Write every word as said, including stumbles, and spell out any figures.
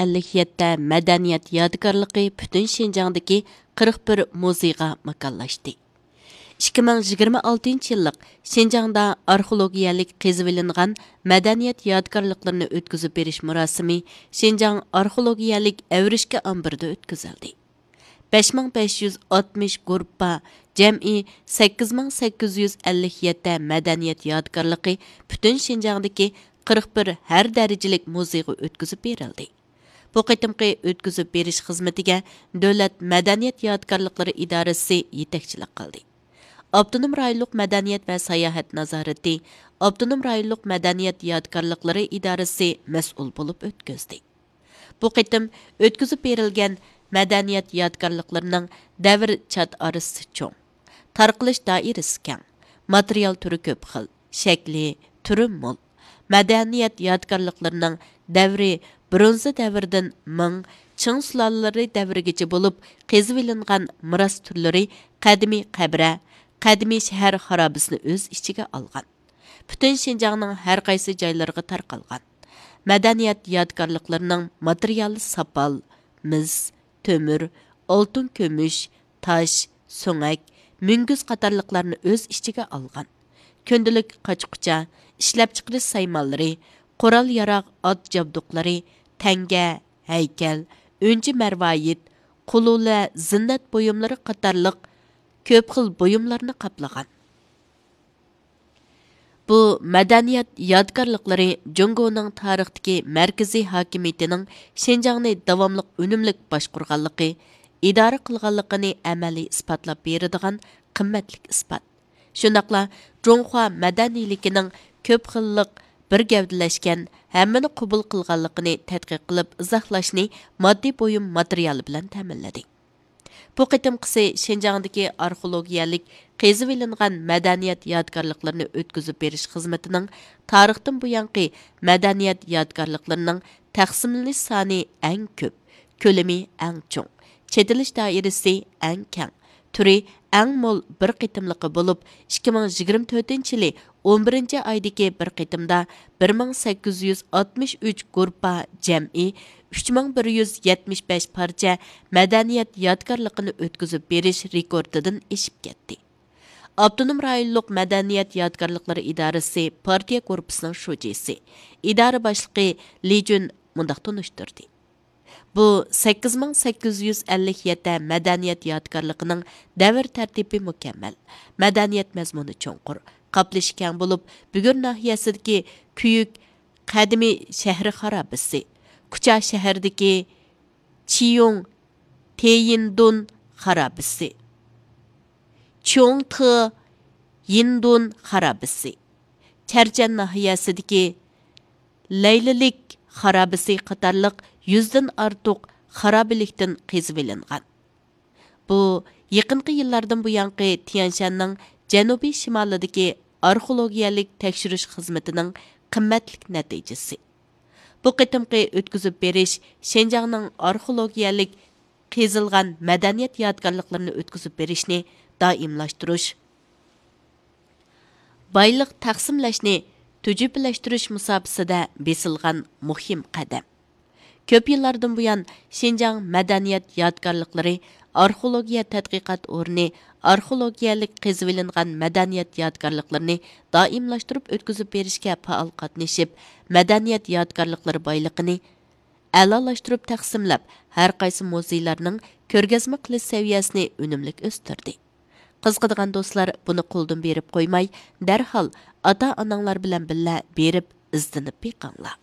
ئەللىك يەتتە مەدەنىيەت يادىكارلىقى پۈتۈن شىنجاڭدىكى قىرىق بىر مۇزېيغا ماكانلاشتى. ئىككى مىڭ يىگىرمە ئالتىنچى يىللىق شىنجاڭدا ئارخېئولوگىيەلىك قېزىۋېلىنغان مەدەنىيەت يادىكارلىقلىرىنى ئۆتكۈزۈپ بېرىش مۇراسىمى شىنجاڭ ئارخېئولوگىيەلىك ئەۋرىشكە ئامبىرىدا ئۆتكۈزۈلدى. بەش مىڭ بەش يۈز ئاتمىش گۇرۇپپا، جەمئىي سەككىز مىڭ سەككىز يۈز ئەللىك يەتتە مەدەنىيەت يادىكارلىقى پۈتۈن شىنجاڭدىكى قىرىق بىر ھەر دەرىجىلىك مۇزېيغا ئۆتكۈزۈپ بېرىلدى. بۇ قېتىمقى ئۆتكۈزۈپ بېرىش خىزمىتىگە دۆلەت مەدەنىيەت يادىكارلىقلىرى ئىدارىسى يېتەكچىلىك قىلدى. ئاپتونوم رايونلۇق مەدەنىيەت ۋە ساياھەت نازارىتى ئاپتونوم رايونلۇق مەدەنىيەت يادىكارلىقلىرى ئىدارىسى مەسئۇل بولۇپ ئۆتكۈزدى. بۇ قېتىم ئۆتكۈزۈپ بېرىلگەن مەدەنىيەت يادىكارلىقلىرىنىڭ دەۋر چات ئارىسى چوڭ، تارقىلىش دائىرىسى كەڭ، ماتېرىيال تۈرى كۆپ خىل، شەكلى، تۈرى مول. مەدەنىيەت يادىكارلىقلىرىنىڭ دەۋرى برونزا دەۋرىدىن مىڭ، چىڭ سۇلالىلىرى دەۋرىگىچە بولۇپ، قېزىۋېلىنغان مىراس تۈرلىرى قەدىمىي قەبرە، قەدىمىي شەھەر خارابىسىنى ئۆز ئىچىگە ئالغان. پۈتۈن شىنجاڭنىڭ ھەر قايسى جايلىرىغا تارقالغان. مەدەنىيەت يادىكارلىقلىرىنىڭ ماتېرىيالى ساپال، مىس، تۆمۈر، ئالتۇن، كۈمۈش، تاش، سۆڭەك، مۈڭگۈز قاتارلىقلارنى ئۆز ئىچىگە ئالغان. كۈندىلىك قاچا-قۇچا، ئىشلەپچىقىرىش سايمانلىرى، قورال-ياراغ، ئات جابدۇقلىرى، تەڭگە، ھەيكەل، ئۈنچە-مەرۋايىت، قۇلۇلە، زىننەت بۇيۇملىرى قاتارلىق كۆپ خىل بۇيۇملارنى قاپلىغان. بۇ مەدەنىيەت يادىكارلىقلىرى جۇڭگونىڭ تارىختىكى مەركىزىي ھاكىمىيىتىنىڭ شىنجاڭنى داۋاملىق ئۈنۈملۈك باشقۇرغانلىقى، ئىدارە قىلغانلىقىنى ئەمەلىي ئىسپاتلاپ بېرىدىغان قىممەتلىك ئىسپات. شۇنداقلا جۇڭخۇا مەدەنىيلىكىنىڭ كۆپ خىللىق، بىر گەۋدىلەشكەن، ھەممىنى قوبۇل قىلغانلىقىنى تەتقىق قىلىپ ئىزاھلاشنى ماددىي بۇيۇم ماتېرىيالى بىلەن تەمىنلىدى. بۇ قېتىمقىسى شىنجاڭدىكى ئارخېئولوگىيەلىك قېزىۋېلىنغان مەدەنىيەت يادىكارلىقلىرىنى ئۆتكۈزۈپ بېرىش خىزمىتىنىڭ تارىختىن بۇيانقى مەدەنىيەت يادىكارلىقلىرىنىڭ تەقسىملىنىش سانى ئەڭ كۆپ، كۆلىمى ئەڭ چوڭ، چېتىلىش دائىرىسى ئەڭ كەڭ، تۈرى ئەڭ مول بىر قېتىملىقى بولۇپ، ئىككى مىڭ يىگىرمە تۆتىنچى يىلى ئون بىرىنچى ئايدىكى بىر قېتىمدا بىر مىڭ سەككىز يۈز ئاتمىش ئۈچ گۇرۇپپا، جەمئىي ئۈچ مىڭ بىر يۈز يەتمىش بەش پارچە مەدەنىيەت يادىكارلىقىنى ئۆتكۈزۈپ بېرىش رېكورتىدىن ئېشىپ كەتتى. ئاپتونوم رايونلۇق مەدەنىيەت يادىكارلىقلىرى ئىدارىسى پارتىيە گۇرۇپپىسىنىڭ شۇجىسى، ئىدارە باشلىقى لى جۈن مۇنداق تونۇشتۇردى. بۇ سەككىز مىڭ سەككىز يۈز ئەللىك يەتتە مەدەنىيەت يادىكارلىقىنىڭ دەۋر تەرتىپى مۇكەممەل، مەدەنىيەت مەزمۇنى چوڭقۇر، قاپلىشى كەڭ بولۇپ، بۈگۈر ناھىيەسىدىكى كۈيۈك قەدىمىي شەھىرى خارابىسى، كۇچا شەھىرىدىكى چيۇڭ تېيىندۇن خارابىسى، چيۇڭ تې يىندۇن خارابىسى، چەرچەن ناھىيەسىدىكى لەيلىلىك خارابىسى قاتارلىق يۈزدىن ئارتۇق خارابىلىكتىن قېزىۋېلىنغان. بۇ يېقىنقى يىللاردىن بۇيانقى تيەنشاننىڭ جەنۇبىي شىمالىدىكى ئارخېئولوگىيەلىك تەكشۈرۈش خىزمىتىنىڭ قىممەتلىك نەتىجىسى. بۇ قېتىمقى ئۆتكۈزۈپ بېرىش شىنجاڭنىڭ ئارخېئولوگىيەلىك قېزىلغان مەدەنىيەت يادىكارلىقلىرىنى ئۆتكۈزۈپ بېرىشنى دائىملاشتۇرۇش، بايلىق تەقسىملەشنى تۈجۈپىلەشتۈرۈش مۇساپىسىدە بېسىلغان مۇھىم قەدەم. كۆپ يىللاردىن بۇيان، شىنجاڭ مەدەنىيەت يادىكارلىقلىرى ئارخېئولوگىيە تەتقىقات ئورنى ئارخېئولوگىيەلىك قېزىۋېلىنغان مەدەنىيەت يادىكارلىقلىرىنى دائىملاشتۇرۇپ ئۆتكۈزۈپ بېرىشكە پائال قاتنىشىپ، مەدەنىيەت يادىكارلىقلىرى بايلىقىنى ئەلالاشتۇرۇپ تەقسىملەپ، ھەر قايسى مۇزېيلارنىڭ كۆرگەزمە قىلىش سەۋىيەسىنى ئۈنۈملۈك ئۆستۈردى. قىزىقىدىغان دوستلار بۇنى قولدىن بېرىپ قويماي، دەرھال ئاتا-ئاناڭلار بىلەن بىللە بېرىپ ئىزدىنىپ بېقىڭلار.